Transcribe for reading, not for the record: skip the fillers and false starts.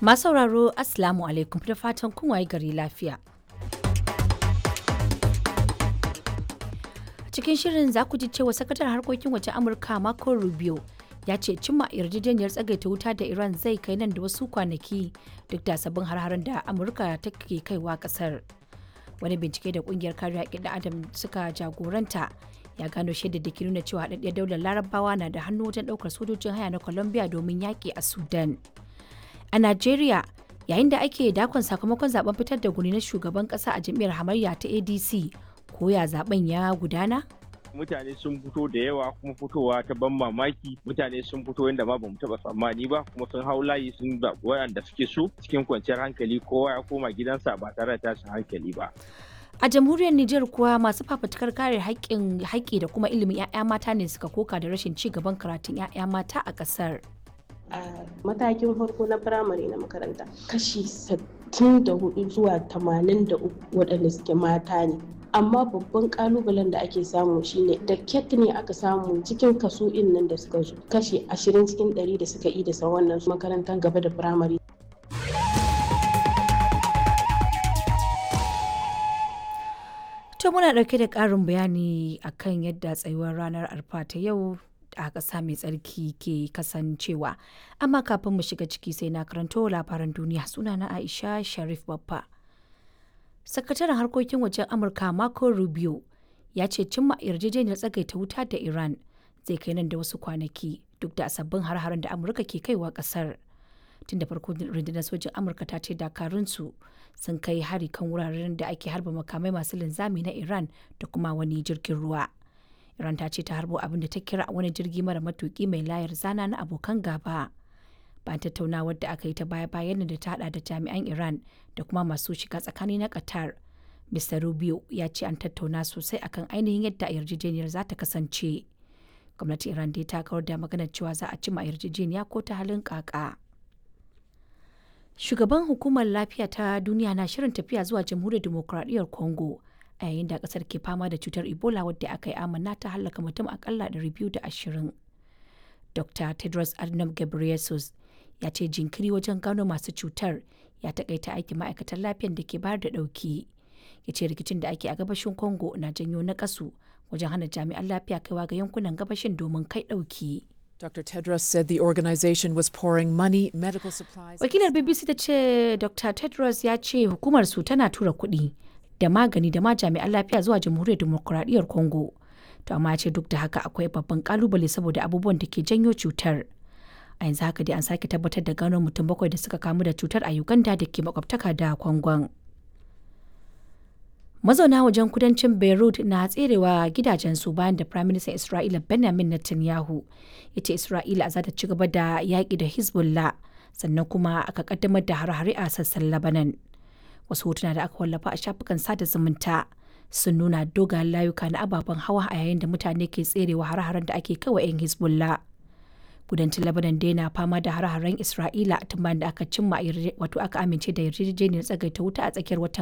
Masu sauraro, Assalamu alaikum, da fatan kun waye gari lafiya. A cikin shirin za ku ji cewa sakataren harkokin wajen Amurka Marco Rubio ya ce cimma yarjejeniyar tsagaita wuta da Iran zai kai nan da wasu kwanaki, duk da sabbin har-haren da Amurka take kaiwa kasar. Wani bincike da kungiyar kariya haƙƙin ɗan Adam suka jagoranta ya gano shaidar da ke nuna cewa haɗaɗɗiyar daular Larabawa na da hannu wajen ɗaukar sojojin haya na Colombia domin yaƙi a Sudan. A Najeriya, yayin da ake dakon sakamakon zaben fitar da guni na shugaban kasa a jam'iyyar hamayya ta ADC, koya zaben ya gudana? Mutane sun fito da yawa, kuma fitowa ta ban mamaki. Mutane sun fito yadda ma bamu taba tsammani ba, kuma sun hau layi sun zaɓi waɗanda suke so cikin kwanciyar hankali. Kowa ya koma gidansa ba tare da tashin hankali ba. A jamhuriyar Nijar kuwa, masu fafutukar kare haƙƙin haƙƙi da kuma ilimin 'ya'ya mata ne suka koka da rashin ci gaban karatun 'ya'ya mata a ƙasar. A matakin farko na firamare na makaranta, kashi 64 zuwa 83 waɗanda suke mata ne. Amma babban kalubalen da ake samu shine da ket ne aka samu cikin kaso nan da suka zo kashi 20 cikin 100 da suka yi da wannan makarantar gaba da firamare. To, muna ɗauke da ƙarin bayani akan yadda tsayuwar ranar Arfa ta yau a ƙasa mai tsarki ke kasancewa. Amma kafin mu shiga ciki, sai na karanto labaran duniya. Sunana Aisha Sharif Baffa. Sakataren harkokin wajen Amurka Marco Rubio ya ce cimma yarjejeniyar tsagaita wuta da Iran zai kai nan da wasu kwanaki, duk da sabbin har-haren da Amurka ke kaiwa ƙasar. Tun da farko rundunar sojin Amurka ta ce dakarunsu sun kai hari kan wuraren da ake harba makamai masu linzami na Iran da kuma wani jirgin ruwa. Iran ta ce ta harbo abin da ta kira wani jirgi mara matuki mai layar zana na abokan gaba. Bayan tattaunawar da aka yi ta baya-bayan da ta hada da jami'an Iran da kuma masu shiga tsakani na Qatar, Mr. Rubio ya ce an tattauna sosai akan ainihin yadda yarjejeniyar za ta kasance. Gwamnatin Iran dai ta kawar da maganar cewa za a cima yarjejeniya ko ta halin kaka. Shugaban hukumar lafiya ta duniya na shirin tafiya zuwa Jamhuriyar Dimokuraɗiyyar Congo a yayin da kasar ke fama da cutar Ebola, wadda aka yi amanna ta hallaka mutum akalla 220. Dr. Tedros Adhanom Ghebreyesus ya ce jinkiri wajen gano masu cutar ya takaita aikin ma'aikatan lafiyar da ke bayar da dauki. Ya ce rikicin da ake a gabashin Congo na janyo nakasu wajen hana jami'an lafiya kaiwa ga yankunan gabashin domin kai dauki. Dr. Tedros said the organization was pouring money, medical supplies. Wakilar BBC ta ce Dr. Tedros ya ce hukumar su tana tura kuɗi da magani da ma jami'an lafiya zuwa Jamhuriyar Dimokuraɗiyyar Congo. To amma ce duk da haka akwai babban kalubale saboda abubuwan da ke janyo cutar. A yanzu haka dai an sake tabbatar da gano mutum bakwai da suka kamu da cutar a Uganda da ke makwabtaka da Kwangon. Mazauna wajen kudancin Beirut na tserewa gidajensu bayan da Prime Minister Isra'ila Benjamin Netanyahu ya ce Isra'ila za ta ci gaba da yaƙi da Hezbollah, sannan kuma aka kaddamar da hare-hare a sassan Lebanon. Wasu hotuna da aka wallafa a shafukan sada zumunta sun nuna dogayen layuka na ababen hawa a yayin da mutane ke tserewa hare-haren da ake kawa 'yan Hezbollah. Kudancin Lebanon dai na fama da hare-haren Isra'ila tun bayan da aka cimma, wato aka amince da yarjejeniyar tsagaita wuta a tsakiyar watan